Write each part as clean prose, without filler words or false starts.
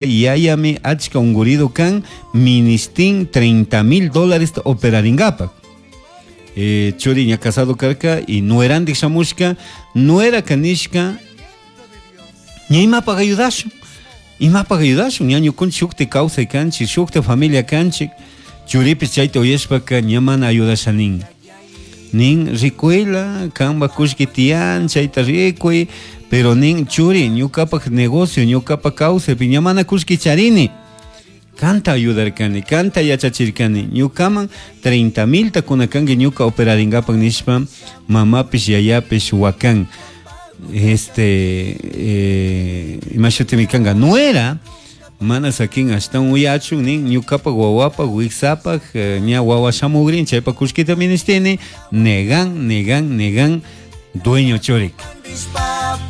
Yayami achka ungurido kan ministin 30 mil dólares operaringapaj. Churi ña casado karka y nuerandik shamushka, nuera kanishka ña imapaj ayudashun, imapaj ayudashun, ña ñukunchik shukti kawsay kanchik, shukti familia kanchik, churipish chayta uyashpaka ña mana ayudasha nin. Nin rikuyla, kanpak kullki tiyan, chayta rikuy, pero nin churi ñukapak negocio, ñukapak kawsaypi ña mana kullki charini. Kanta ayudarkani, kanta yachachirkani, ñukaman 30 milta kunakanki ñuka operaringapak nishpa mamapish yayapish wakan. Este, ima shutimi kanka, nuera mana sakin ashtawan uyachun nin ñukapak wawapak wiksapak ña wawa shamugrin chaypak kullkita ministini, negan, negan, negan dueño churik.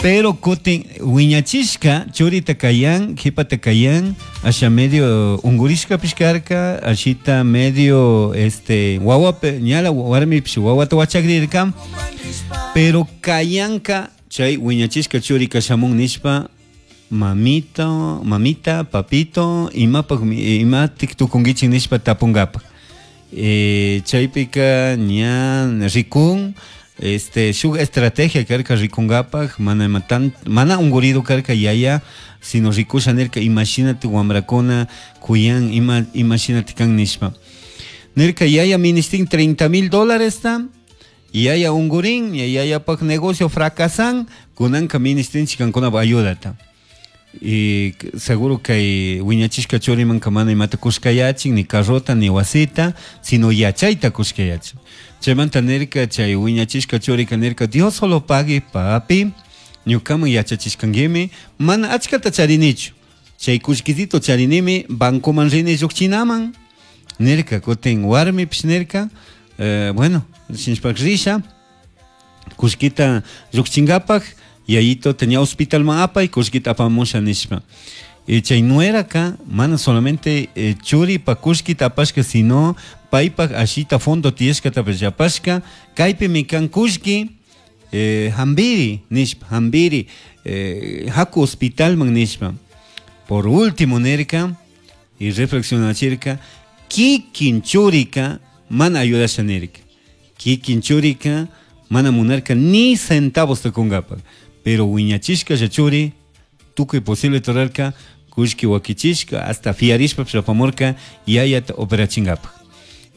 Pero kutin wiñachishka churita kayan, jipata kayan, asha medio ungurishkapish karka, ashita medio este wawape, ñala warmipish wawata wachakrirka, pero kayanka chay wiñachishka churika shamun nishpa mamito, mamita, papito, imapak, imatik tukunkichik nishpa tapunkapak. Chaypika ña rikun, este, shuk estrategia karka rikunkapak, mana ima tan, mana ungurido karka yaya, sino rikusha nirka imashinati wamrakuna kuyan, ima, imashinati kan nishpa. Nirka yaya ministin 30 mil dólares ta, yaya ungurin, yayapak negocio fracasan, kunanka ministinchik kankunapa ayudata. Y seguro kay wiñachishka churimanka mana imata kushkayachin, ni carrota, ni wasita, sino yachayta kushkayachin. Chaymanta nirka, chay wiñachishka churika nirka, Dios solo pague, papi, ñukaman yachachishkankimi, mana achkata charinichu. Chay kullkitito charinimi, bancoman rini llukchinaman. Nirka, kutin warmipish nirka, bueno, shinshpak risha, kullkita llukchinkapak, yayito tenía hospital man apay, kullkita apamusha nishpa. Y chay nueraka, mana solamente churi pa kullkita apashka, sino paypak ashita fondo tiyashkatapish apashka, kaypimi kan kullki, hambiri nishpa, hambiri, haku hospitalman nishpa. Por último nirka, y reflexionachirka, kikin churika mana ayudasha nirka. Kikin churika mana munarka ni centavos tukunkapak. Pero wiñachishka churi, tukuy posible torarka, kullki wakichishka, hasta fiarishpa apamurka, yayata operachinkapak.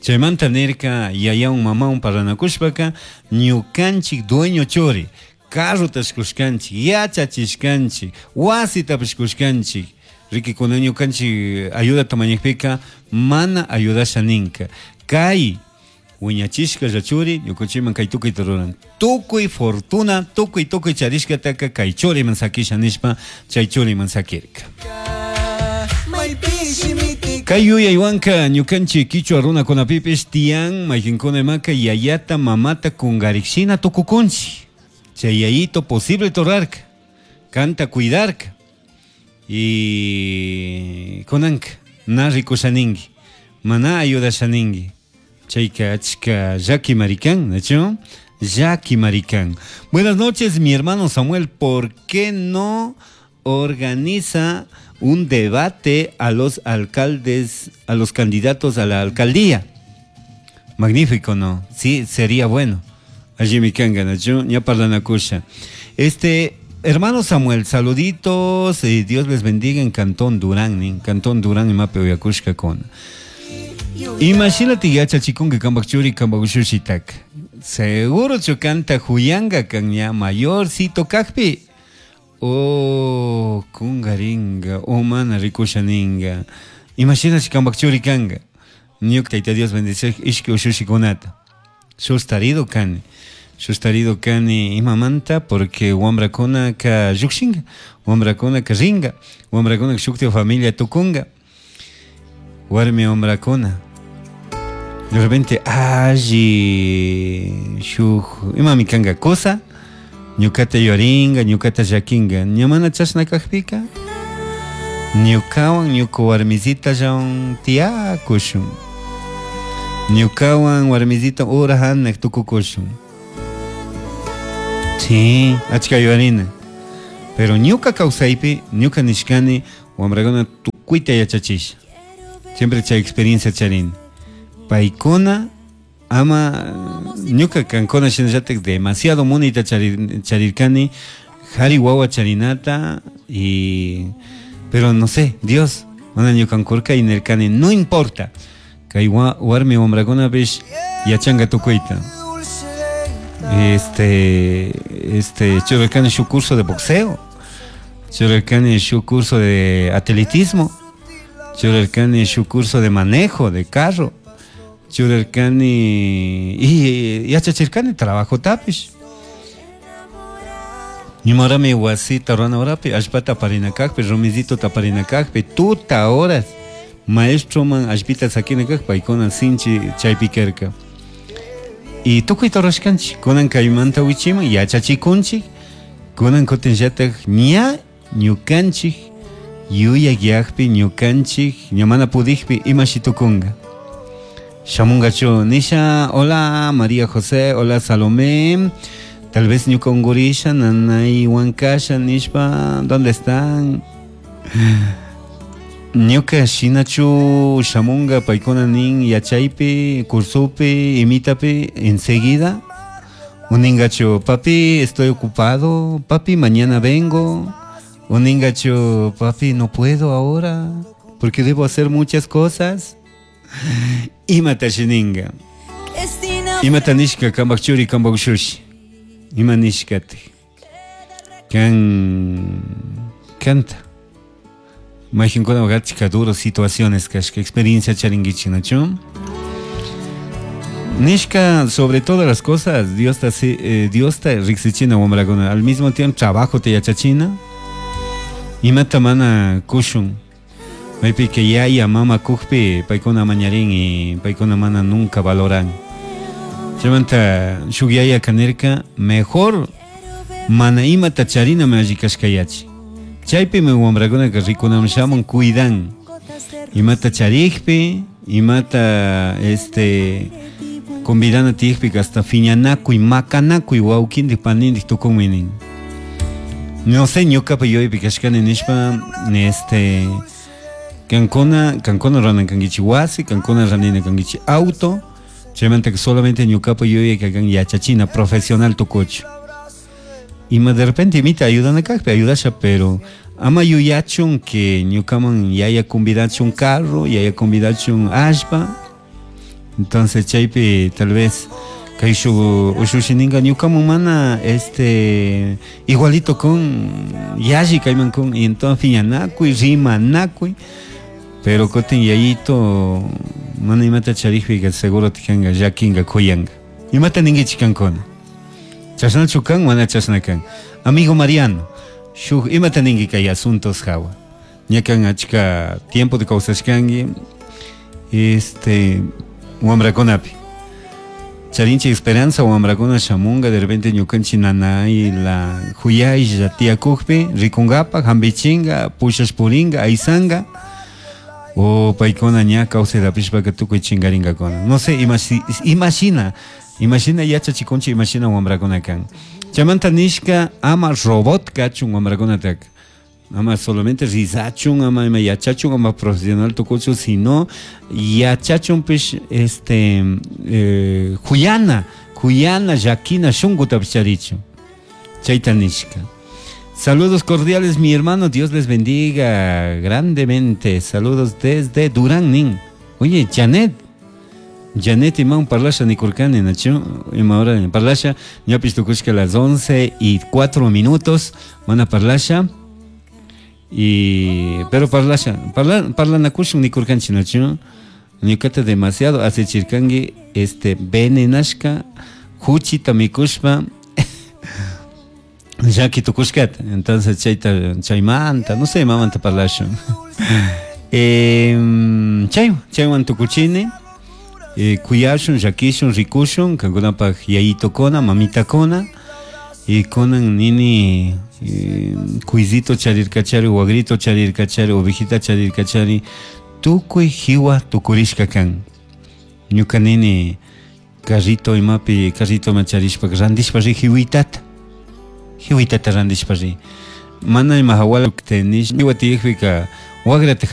Chaymanta nirka, yayawan mamawan parlanakushpaka, ñukanchik dueño churi, carrotash kushkanchik, yachachishkanchik, wasitapish kushkanchik, riki kuna ñukanchik ayudata mañakpika, mana ayudasha ninka. Kay wiñachishka churi, ñukanchikman kay tukuyta ruran. Tukuy fortuna, tukuy, tukuy charishkataka kay churiman sakisha nishpa, chay churiman sakirka. Kay yuyaywanka ñukanchik kichwa runakunapipish tiyan mayqinkuna imaka yayata mamata kungarikshina tukukunchik. Chay yayito posible torarka, kanta cuidarka. Y kunanka na rikushaninki, mana ayudashaninki. Chayka achka llaki marikan, ¿no? Llaki marikan. Buenas noches, mi hermano Samuel. ¿Por qué no organiza un debate a los alcaldes, a los candidatos a la alcaldía? Magnífico, ¿no? Sí, sería bueno. Allí mi kanga, ¿no? Ña parlanakusha. Este, hermano Samuel, saluditos, Dios les bendiga en Cantón Durán, en Cantón Durán, en Mape Oyacushka con. Imagínate yachachikunki kanpak churi kanpak ushushitaka. Seguro chukanta huyanga kan ña mayorcito kakpi. Oh, kungaringa, oh mana rikushaninga. Imagínate kanpak churi kanga. Ñuka Tayta Dios bendice ishki ushushikunata. Sustarido kani. Sustarido kani imamanta porque wambrakuna ka llukshinga, wambrakuna ka ringa, wambrakuna ka shukti familia tukunga. Warmi wambrakuna. De repente, alli, shuk, imami kanga cosa, ñukata yoringa, ñukata llakinga, ñamana chashna kakpika, ñukawan, ñuka warmisita llawan tiyakushun, ñukawan warmisita ura hanak tukukushun. Sí, achka yuarina. Pero ñuka kawsaypi, ñuka nishkani, Wamrakuna tukuyta yachachisha. Siempre chay experiencia charini. Paykuna ama ñuka kankuna shinallatak demasiado munayta charirkani jari wawa charinata y pero no sé, Dios mana ñukankurka y nirkani no importa kay warmi wamrakunapish yachanka tukuyta. Este churarkani shuk curso de boxeo, churarkani shuk curso de atletismo, churarkani shuk curso de manejo de carro, churarkani y yachachirkani trabajo tapish. Ñumarami wasita rurana horapi allpata aparina kakpi, rumizito aparina kakpi, tuta horas maestroman allpita sakina kak paykuna sinchi chaypi karka. Y tukuyta rurashkanchik, kunan kaymanta wichiman yachachikunchik, kunan kutinllatak ña ñukanchik yuyakyakpi ñukanchik ña mana pudikpi imashi tukunka. Shamungachu nisha, hola María José, hola Salomé, tal vez ñuka ungurisha, nanay wankasha nishpa, ¿dónde están? Ñuka shinachu shamunga paykuna nin yachaypi, cursopi, imitapi, enseguida. Uningachu, papi, estoy ocupado, papi, mañana vengo. Uningachu, papi, no puedo ahora, porque debo hacer muchas cosas. Imata shininga. Imata nishka kambak churi kambak shushi. Ima nishkati. Kan kanta. Majinkuna achka duro situaciones kashka experiencia charingichi, ¿nachu? Nishka, sobre todas las cosas, Dios ta riksichina wamrakuna. Al mismo tiempo trabajo te yachachina. Imata mana kushun. Maypi que yaya mama kukpi paykuna mañarin y paykuna mana nunca valoran. Chaymanta shuk yaya kanirka mejor mana imata charina me alli kashkayachi. Chaypimi wamrakunaka rikunam shamun cuidan. Imata charikpi, imata convidana tiyakpi hasta fiñanakuy, makanakuy wawkindik panindik tukunmi nin. No sé ñukapa yuyaypi kashkani nishpa kankuna ranan kankichik wasi, kankuna ranina kankichik auto, chaymanta solamente ñukapa yuyayka kan yachachina profesional tukuchu. Ima de repente imita ayudana kakpi ayudasha, pero ama yuyachun que ñukaman yaya convidachun carro, yaya convidachun allpa. Entonces chaypi tal vez kay shuk ushushi ninka ñukaman mana igualito con yalli kayman con y entonces fiñanakuy, rimanakuy, pero kutin yayito mana imata charikpika seguro tikanka llakinka kuyanka. Imata ninkichik kankuna. Chashnachu kan, mana chashna kan. Amigo Mariano, shuk imata ninki kay asuntos hawa. Ña kan achka tiempo de kawsashkanki wamrakunapi. Charinchi esperanza wamrakuna shamunga de repente ñukanchik nanay la huyaylla tiyakukpi rikunkapak hampichinka pushash purinka aysanga o paykuna ña kawsaytapishpaka tukuy chinkarinkakuna. No sé, imashina imashina yachachikunchik imashina wamrakuna kan. Chaymanta nishka ama robot kachun wamrakunataka. Ama solamente rizachun, ama ima yachachun, ama profesional tukuchun, sino yachachunpish huyana, huyana llakina shunkuta charichun. Chayta nishka. Saludos cordiales, mi hermano, Dios les bendiga grandemente. Saludos desde Durán, nin. Oye, Janet. Janet iman parlasha nikurkani, nachu, ima hora parlasha, ñapish tukushka a las 11:04, mana parlasha. Y pero parlasha, parlanakushun nikurkanchik, nachu, ñukata demasiado asichirkanki venenashka huchita mikushpa llaki tukushkata. Entonces chayta chaymanta, no sé, mamanta parlashun. Chaywan tukuchini. Kuyashun, llakishun, rikushun, kankunapaj yayitukuna, mamitakuna, y kunan nini kuysito charirkachari, wagrito charirkachari, ovejita charirkachari, tukuy jiwa tukurishka kan. Ñuka nini carrito imapi, carrito ma charishpa, randishpa ri jiwitata. Jiwitata randishpa ri. Mana ima hawala tenish, jiwa tiyakpika Wagrata.